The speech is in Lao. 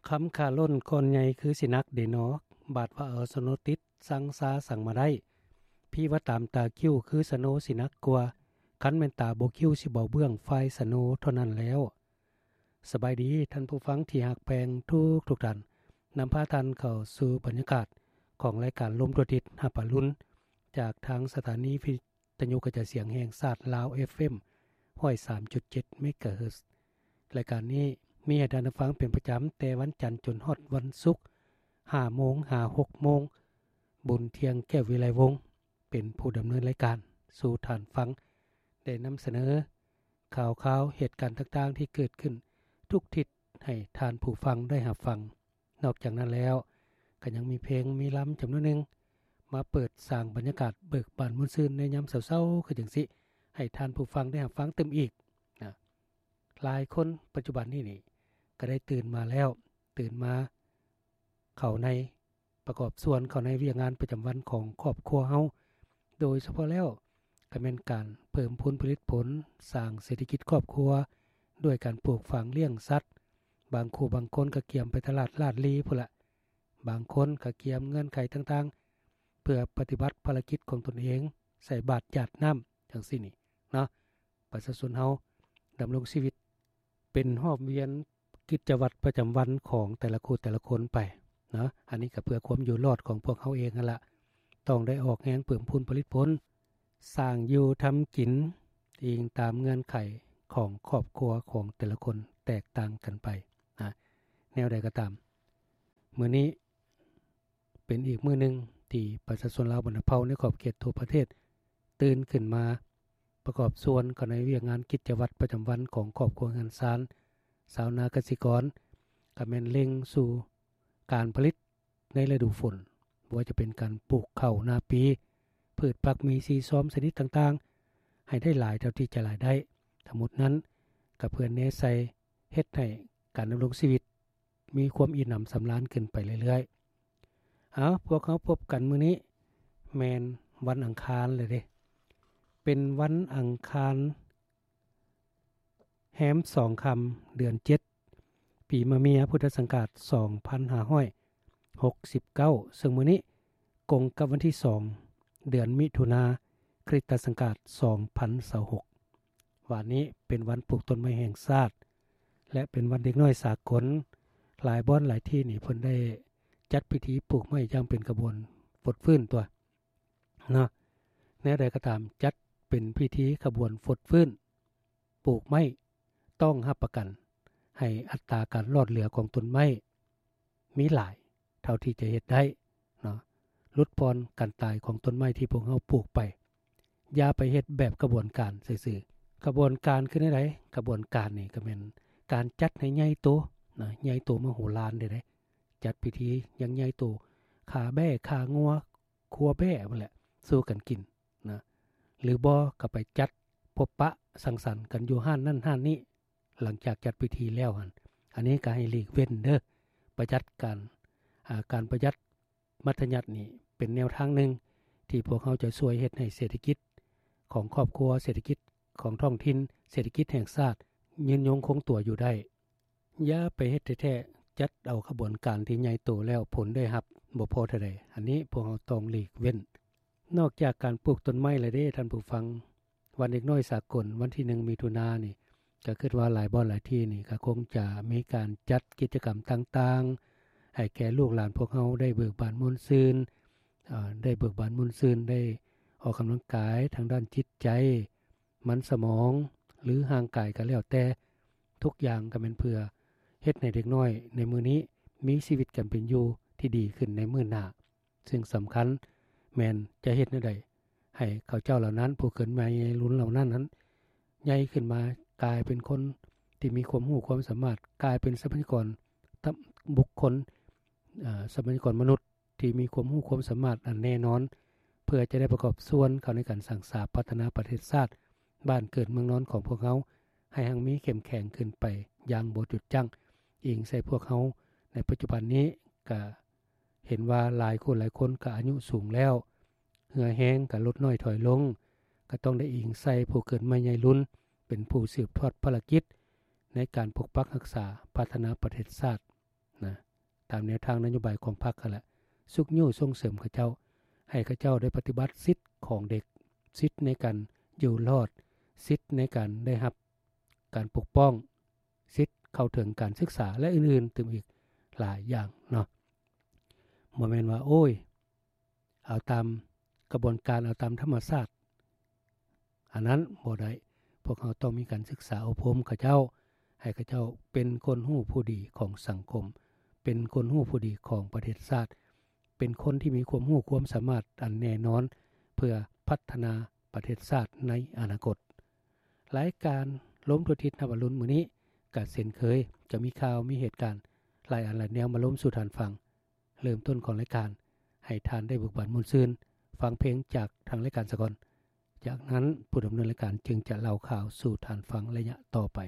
ຄຳຂາລົ້ນກ້ອນໃຫຍ່ຄືຊິໜັກເດນໍ, ບາດວ່າເອົາສະໂນຕິດ ສັງຊາສັງມາໄດ້. ພີວ່າຕາມຕາຄິ້ວຄືສະໂນຊິໜັກກວ່າ, ຄັນແມ່ນຕາບໍ່ຄິ້ວຊິເບົາເບື້ອງຝ່າຍສະໂນເທົ່ານັ້ນແລ້ວ. ສະບາຍດີທ່ານຜູ້ຟັງທີ່ຮັກແພງທຸກໆທ່ານ, ນຳພາທ່ານເຂົ້າສູ່ບັນຍາກາດຂອງລາຍການລົມທົ່ວທິດຮັບອະລຸນ ຈາກທາງສະຖານີວິ ທະຍຸກະຈາຍສຽງແຫ່ງຊາດລາວ ເອັຟເອັມ ຮ້ອຍສາມຈຸດເຈັດ ເມກາເຮີດ. ລາຍການນີ້ມີໃຫ້ທ່ານໄດ້ຟັງເປັນປະຈຳແຕ່ວັນຈັນຈົນຮອດວັນສຸກ ຫ້າໂມງຫາຫົກໂມງ. ບຸນທຽງ ແກ້ວວິໄລວົງ ເປັນຜູ້ດຳເນີນລາຍການສູ່ທ່ານຟັງ, ໄດ້ນຳສະເໜີຂ່າວຄາວເຫດການຕ່າງໆທີ່ເກີດຂຶ້ນທຸກທິດໃຫ້ທ່ານຜູ້ຟັງໄດ້ຮັບຟັງ. ນອກຈາກນັ້ນແລ້ວ ກໍຍັງມີເພງມີລຳຈຳນວນໜຶ່ງ ມາເປີດສ້າງບັນຍາກາດເບີກບານມ່ວນຊື່ນໃນຍາມເຊົ້າໆ ຄືຈັ່ງຊີ້ ໃຫ້ທ່ານຜູ້ຟັງໄດ້ຮັບຟັງຕື່ມອີກນະ. ຫຼາຍຄົນປັດຈຸບັນນີ້ນີ້ ກໍໄດ້ຕື່ນມາແລ້ວ, ຕື່ນມາເຂົ້າໃນ ປະກອບສ່ວນເຂົ້າໃນວຽກງານປະຈຳວັນຂອງຄອບຄົວເຮົາ, ໂດຍສະເພາະແລ້ວ ກໍແມ່ນການເພີ່ມພູນຜະລິດຜົນ, ສ້າງເສດຖະກິດຄອບຄົວ ດ້ວຍການປູກຝັງລ້ຽງສັດ. ບາງຄູ່ບາງຄົນກໍກຽມໄປຕະຫຼາດລາດລີພຸ້ນລະ, ບາງຄົນກໍກຽມເງື່ອນໄຂຕ່າງໆ ເພື່ອປະຕິບັດພາລະກິດຂອງຕົນເອງ, ໃສ່ບາດຢາດນ້ຳ ຈັ່ງຊີ້ນີ້ເນາະ. ປະຊາຊົນເຮົາດຳລົງຊີວິດ ເປັນຮອບວຽນກິດຈະວັດປະຈຳວັນຂອງແຕ່ລະຄູ່ແຕ່ລະຄົນໄປເນາະ. ອັນນີ້ກໍເພື່ອຄວາມຢູ່ລອດຂອງພວກເຮົາເອງຫັ້ນລະ, ຕ້ອງໄດ້ອອກແຮງເພີ່ມພູນຜະລິດຜົນ, ສ້າງຢູ່ທຳກິນ ອີງຕາມເງື່ອນໄຂຂອງຄອບຄົວຂອງແຕ່ລະຄົນແຕກຕ່າງກັນໄປນະ. ແນວໃດກໍຕາມ, ມື້ນີ້ ເປັນອີກມື້ໜຶ່ງທີ່ປະຊາຊົນລາວບັນດາເຜົ່າໃນຂອບເຂດທົ່ວປະເທດ ຕື່ນຂຶ້ນມາປະກອບສ່ວນເຂົ້າໃນວຽກງານກິດຈະວັດປະຈຳວັນຂອງຄອບຄົວເຮືອນຊານ. ຊາວນາກະສິກອນກໍແມ່ນເລັ່ງສູ່ການຜະລິດໃນລະດູຝົນ, ບໍ່ວ່າຈະເປັນການປູກເຂົ້ານາປີ, ພືດຜັກໝີ່ຊີຊອມຊະນິດຕ່າງໆ ໃຫ້ໄດ້ຫຼາຍເທົ່າທີ່ຈະຫຼາຍໄດ້. ທັງໝົດນັ້ນກໍເພື່ອແນໃສ່ ເຮັດໃຫ້ການດຳລົງຊີວິດມີຄວາມອີ່ໜຳສຳລານຂຶ້ນໄປເລື້ອຍໆ. ເອົາ, ພວກເຮົາພົບກັນມື້ນີ້ແມ່ນວັນອັງຄານແລ້ວເດ້. ເປັນວັນອັງຄານແຮມສອງຄ່ຳ ເດືອນເຈັດ ປີມະເມຍ ພຸດທະສັງກາດສອງພັນຫ້າຮ້ອຍຫົກສິບເກົ້າ, ເຊິ່ງມື້ນີ້ກົງກັບວັນທີສອງ ເດືອນມິຖຸນາ ຄຣິສຕະສັງກາດສອງພັນຊາວຫົກ. ວານນີ້ເປັນວັນປູກຕົ້ນໄມ້ແຫ່ງຊາດ ແລະ ເປັນວັນເດັກນ້ອຍສາກົນ. ຫຼາຍບ່ອນຫຼາຍທີ່ນີ້ເພິ່ນໄດ້ຈັດພິທີປູກໄມ້ຢ່າງເປັນຂະບວນຟົດຟື້ນຕົວະເນາະ. ແນວໃດກໍຕາມ, ຈັດເປັນພິທີຂະບວນຟົດຟື້ນ ປູກໄມ້ ຕ້ອງຮັບປະກັນໃຫ້ອັດຕາການລອດເຫຼືອຂອງຕົ້ນໄມ້ມີຫຼາຍເທົ່າທີ່ຈະເຮັດໄດ້ເນາະ, ຫຼຸດຜ່ອນການຕາຍຂອງຕົ້ນໄມ້ທີ່ພວກເຮົາປູກໄປ. ຢ່າໄປເຮັດແບບຂະບວນການຊື່ໆ. ຂະບວນການຄືແນວໃດ? ຂະບວນການນີ້ກໍແມ່ນການຈັດໃຫ້ໃຫຍ່ໂຕນະ, ໃຫຍ່ໂຕມະໂຫລານເດ້, ຈັດພິທີຢ່າງໃຫຍ່ໂຕ, ຂ້າແບ້ ຂ້າງົວ, ຄົວແບ້ພຸ້ນແຫຼະ ສູ່ກັນກິນນະ, ຫຼືບໍ່ກໍໄປຈັດພົບປະສັງສັນກັນຢູ່ຮ້ານນັ້ນຮ້ານນີ້ ຫຼັງຈາກຈັດພິທີແລ້ວຫັ້ນ. ອັນນີ້ກໍໃຫ້ຫຼີກເວັ້ນເດີ, ປະຢັດການ, ອາ, ການປະຢັດມັດທະຍັດນີ້ເປັນແນວທາງໜຶ່ງທີ່ພວກເຮົາຈະຊ່ວຍເຮັດໃຫ້ເສດຖະກິດຂອງຄອບຄົວ, ເສດຖະກິດຂອງທ້ອງຖິ່ນ, ເສດຖະກິດແຫ່ງຊາດຍືນຍົງຄົງຕົວຢູ່ໄດ້. ຢ່າໄປເຮັດແທ້ໆ, ຈັດເອົາຂະບວນການທີ່ໃຫຍ່ໂຕແລ້ວຜົນໄດ້ຮັບບໍ່ພໍເທົ່າໃດ. ອັນນີ້ພວກເຮົາຕ້ອງຫຼີກເວັ້ນ. ນອກຈາກການປູກຕົ້ນໄມ້ແລ້ວເດ້ທ່ານຜູ້ຟັງ, ວັນເດັກນ້ອຍສາກົນ ວັນທີໜຶ່ງ ມິຖຸນານີ້ ກໍຄິດວ່າຫຼາຍບ່ອນຫຼາຍທີ່ນີ້ກໍຄົງຈະມີການຈັດກິດຈະກຳຕ່າງໆ ໃຫ້ແກ່ລູກຫຼານພວກເຮົາໄດ້ເບີກບານມ່ວນຊື່ນ, ເອີ, ໄດ້ເບີກບານມ່ວນຊື່ນ, ໄດ້ອອກກຳລັງກາຍທາງດ້ານຈິດໃຈ, ມັນສະໝອງ ຫຼື ຮ່າງກາຍກໍແລ້ວແຕ່, ທຸກຢ່າງກໍແມ່ນເພື່ອເຮັດໃຫ້ເດັກນ້ອຍໃນມື້ນີ້ມີຊີວິດການເປັນຢູ່ທີ່ດີຂຶ້ນໃນມື້ໜ້າ. ສິ່ງສຳຄັນແມ່ນຈະເຮັດແນວໃດໃຫ້ເຂົາເຈົ້າເຫຼົ່ານັ້ນ, ຜູ້ເກີດໃໝ່ລຸນເຫຼົ່ານັ້ນນັ້ນ ໃຫຍ່ຂຶ້ນມາກາຍເປັນຄົນທີ່ມີຄວາມຮູ້ຄວາມສາມາດ, ກາຍເປັນຊັບພະຍາກອນ ບຸກຄົນ, ເອີ, ຊັບພະຍາກອນມະນຸດ ທີ່ມີຄວາມຮູ້ຄວາມສາມາດອັນແນ່ນອນ ເພື່ອຈະໄດ້ປະກອບສ່ວນເຂົ້າໃນການສ້າງສາພັດທະນາປະເທດຊາດ ບ້ານເກີດເມືອງນອນຂອງພວກເຮົາ ໃຫ້ຮັ່ງມີເຂັ້ມແຂງຂຶ້ນໄປຢ່າງບໍ່ຢຸດຢັ້ງ. ອີງໃສ່ພວກເຮົາໃນປັດຈຸບັນນີ້ ກະເຫັນວ່າຫຼາຍຄົນ, ຫຼາຍຄົນກະອາຍຸສູງແລ້ວ, ເຫື່ອແຮງກະຫຼຸດນ້ອຍຖອຍລົງ, ກະຕ້ອງໄດ້ອີງໃສ່ຜູ້ເກີດໃໝ່ໃຫຍ່ລຸນ ເປັນຜູ້ສືບທອດພາລະກິດໃນການປົກປັກຮັກສາ, ພັດທະນາປະເທດຊາດ. ນະ, ຕາມແນວທາງນະໂຍບາຍຂອງພັກຫັ້ນແຫຼະ ຊຸກຍູ້ສົ່ງເສີມເຂົາເຈົ້າ ໃຫ້ເຂົາເຈົ້າໄດ້ປະຕິບັດສິດຂອງເດັກ ສິດໃນການຢູ່ລອດ ສິດໃນການໄດ້ຮັບການປົກປ້ອງ ສິດເຂົ້າເຖິງການສຶກສາ ແລະ ອື່ນໆຕື່ມອີກຫຼາຍຢ່າງເນາະ. ບໍ່ແມ່ນວ່າ ໂອ້ຍ ເອົາຕາມກະບວນການ ເອົາຕາມທຳມະຊາດ ອັນນັ້ນບໍ່ໄດ້. ພວກເຮົາຕ້ອງມີການສຶກສາອົບຮົມເຂົາເຈົ້າ ໃຫ້ເຂົາເຈົ້າເປັນຄົນຮູ້ຜູ້ດີຂອງສັງຄົມ ເປັນຄົນຮູ້ຜູ້ດີຂອງປະເທດຊາດ ເປັນຄົນທີ່ມີຄວາມຮູ້ຄວາມສາມາດອັນແນ່ນອນ ເພື່ອພັດທະນາປະເທດຊາດໃນອະນາຄົດ. ລາຍການລົມທົ່ວທິດຮອບອະລຸນມື້ນີ້ ກະເຊັ່ນເຄີຍ ຈະມີຂ່າວ ມີເຫດການຫຼາຍອັນຫຼາຍແນວມາລົມສູ່ທ່ານຟັງ. ເລີ່ມຕົ້ນຂອງລາຍການ ໃຫ້ທ່ານໄດ້ເບີກບານມ່ວນຊື່ນ ຟັງເພງຈາກທາງລາຍການສາກ່ອນ. ຈາກນັ້ນຜູ້ດຳເນີນລາຍການຈຶ່ງຈະເລົ່າຂ່າວສູ່ທ່ານຟັງໄລຍະຕໍ່ໄປ.